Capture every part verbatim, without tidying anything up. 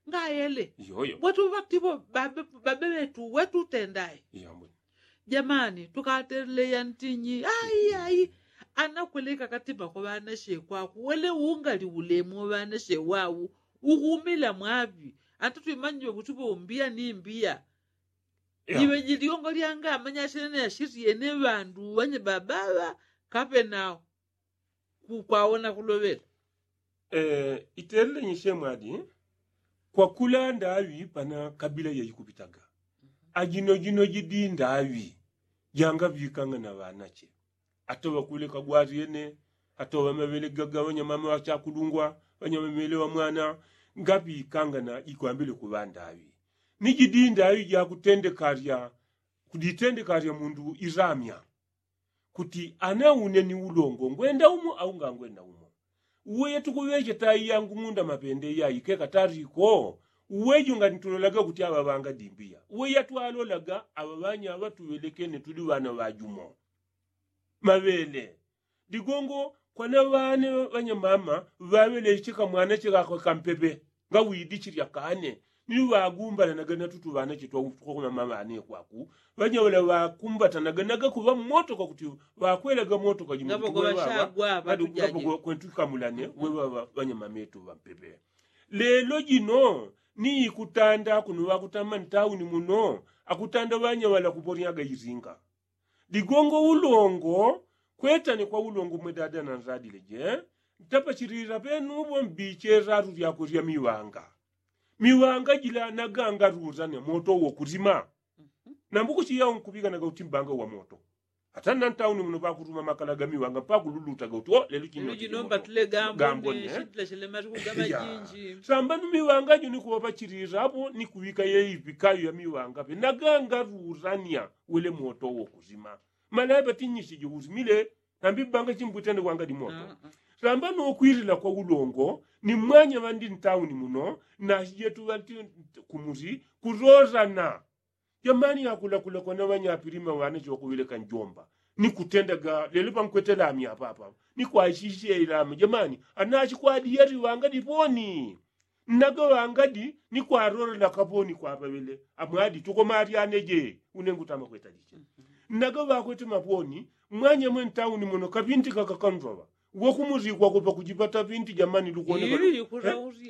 Ngayele. Yoyo. Watu waktipo babe babe wetu wetu tendaye. Yambwe. Jamani tukateleya ntinyi ai ai. Anakweleka katima kwa ŵanashe kwaku wele ungali ulemu ŵanashe wau. Uhumila mwaŵi. Ata twimanyiwe kuti ŵombia ni mbia. Iŵe jiliongo lyanga amanyashene yashitiene ŵandu ŵanye babaŵa kapenao. Kwaona kuloŵela. Itelele nyishe mwadi. Kwakula ndaŵi pana kabila yaikupitaga. Ajino jino jidi ndaŵi jangaŵikanga na ŵanache. Atoŵa kule kagwariene atoŵa maŵele gaga ŵanyamama ŵachakulungwa ŵanyamaŵele ŵa mwana. Ngaŵikanga na ikwambile kuŵa ndaŵi ni jidi ndaŵi jakutendekarya. Kuditendekarya mundu iramya kuti ana une ni ulongo ngwenda umo au ngangwenda umo. Uwe yetukuŵeche tai yangu ng'unda mapende yaikeka tariko. Uwe junga nitulolaga kuti aŵa ŵanga dimbia uwe yatwalolaga aŵa ŵanya aŵa tuŵelekene tuli ŵana ŵajumo. Maŵele digongo kwana ŵane ŵanyamama ŵaŵeleche kamwana chekakwe kampepe. Ngawidichilya kane ni ŵagumbalanaga na tutu ŵanache twakukomama ŵane kwaku. Ŵanyaŵala ŵakumbatanaga naga kuŵa mmotoka kuti ŵakwelaga motoka jimutikuweŵaŵa. Kwentu kamulane weŵaŵa ŵanyamametu ŵampepe. Lelo jino ni ikutanda kuno ŵakutama ntauni muno akutanda ŵanyaŵala kuponyaga iringa. Digongo ulongo kwetane kwa ulongo mwe dada na nzadile je. Ntapachilila penupo mbiche lalu lyakwe lya miwanga. Miwanga jila nagangarurane moto wo kuzima. Nambukuchi yao nkupikanaga uti mbanga wa moto. Ata na ntauni muno pakuruma makala ga miwanga pakululutaga uti o lelo chino chino mbatule gambone. Sambanu miwanga jo nikuŵapachilila apo nikuŵika yeivikayo ya miwanga pe nagangarurania wele moto wo kuzima. Malaya patinyisije uzimile. Nambi banga chimbwitende kwanga dimoto. Sambanu ukwilila kwa ulongo ni mwanya ŵandi ntauni muno. Nasijetu ŵanti kumusi kurorana. Jamani yakulakula kwana ŵanyapilima ŵanache ŵakuŵeleka njomba. Nikutendaga lelo pankwete lami apapa nikwaishishe ilami jamani. Anachi kwadi yali ŵanga diponi. Nnaga ŵangadi ni kwarorela kaponi kwapaŵele. Amwadi tukomalyane je. Une ngutama kwetaliche nnaga ŵakwete maponi. Mwanyamwe ntauni muno kapinti kakakanzwaŵa. Wokumulikwako pakujipata pinti jamani lukoneka.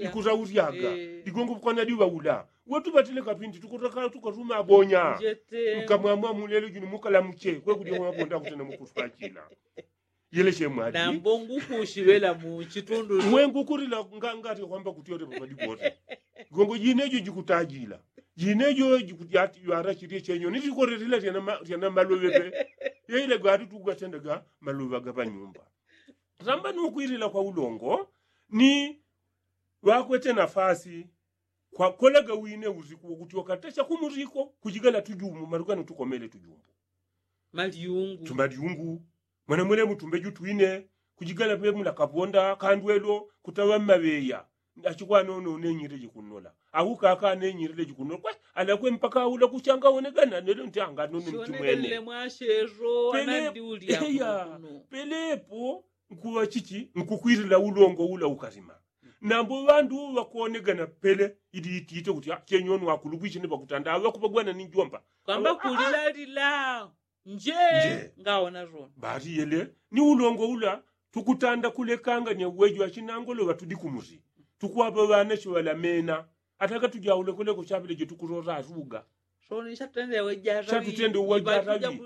Ikutaulyaga ligongo kwanadi ŵaula. Wetupatile kapinti tukutaka tukatuma abonya. Nkamwamwa mulelo juni mukalamuche kwekudya mwaponda kutena mukutwachila. Yeleshe mwadi. Nambo ngukushiŵela mu chitundu. Mwe ngukurila ngati kwamba kuti yote papadi bote. Gongo jinejo jikutajila jinejo jikuti ati ywara chilye chenyo nitikorerila. Lyana maluŵe pe. Yeile gati tukugatendaga maluŵa ga panyumba. Samba nukwilila kwa ulongo ni ŵakwete nafasi. Kwakolaga wine usiku wokuti wakatasha kumuriko kujigala tujumbu maruga nutukomele tujumbu. Malyungu tumalyungu. Mwana mwene mutumbe jutwine kujigala pemula kaponda kandwelo kutaŵa mmaŵeya. Achikwanono nenyile jikunnola. Aukaka nenyile jikunnola kwe alakwe mpaka aula kuchanga wonegana nelo nti anganono ntimwene. Pelepo nkuŵa chichi nkukwilila ulongo ula ukalima. Nambo ŵandu ŵakonegana pele ili itite kuti chenyoni wakulubwiche ni ŵakutanda aŵakupagwana ni njomba. Kwamba kulilalila nje. Ngaona zona bati yele ni ulongo ula. Tukutanda kulekanganya uwejo achinangolo ŵatudi kumusi. Tukwaŵa ŵana chiŵalamena. Ataka tujaule kuleko chapile jetukulola asuga. Soni shatutende uwejaraŵi. Shatutende uwejaraŵi.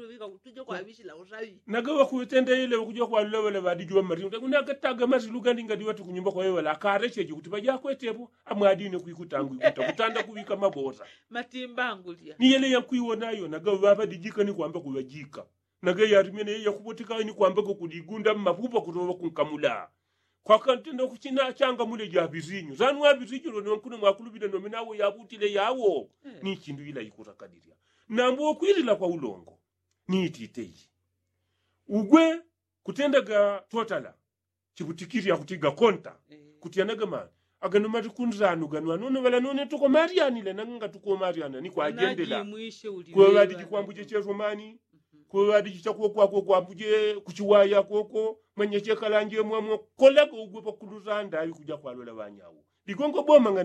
Naga ŵakutenda ile ŵakuja kwalula ŵala ŵadijuŵa mmalinga kunakataga masilu gandi ngadi ŵati kunyumba kwawe ŵala akalecheje kuti ŵajakwetepo. Amwadine kwikutangu ikuta kutanda kuŵika mabosa. Matimba angulya ni yele yankwiwonayo naga ŵaŵadijika ni kwamba kuŵajika. Naga yalimene yakupoteka ni kwamba kukuligunda mmapupa kutoŵa kunkamula. Kwakantenda kuchina changa mule jaŵizinyu zanu aŵizinyu lone nkuno mwakulubile nome nawo yabutile yawo. Ni chindu ila ikutakadilya nambo kwilila kwa ulongo. Ni itite iyi ugwe kutendaga totala. Chiputikili akutiga konta kutiyanaga mani. Agano mali kunzanu ganu anono ŵala none tukomalyanile nanga ngatukomalyana ni kwajendela. Kuŵa ŵadiji kwambuje chesomani. Kuŵa ŵadiji chakuwo kwakwe kwambuje kuchiwaya koko. Mwenye chekalanje mwamwo kolaga ugwe pakuluzanda aŵi kuja kwalola ŵanyawo. Ligongo boma ngani.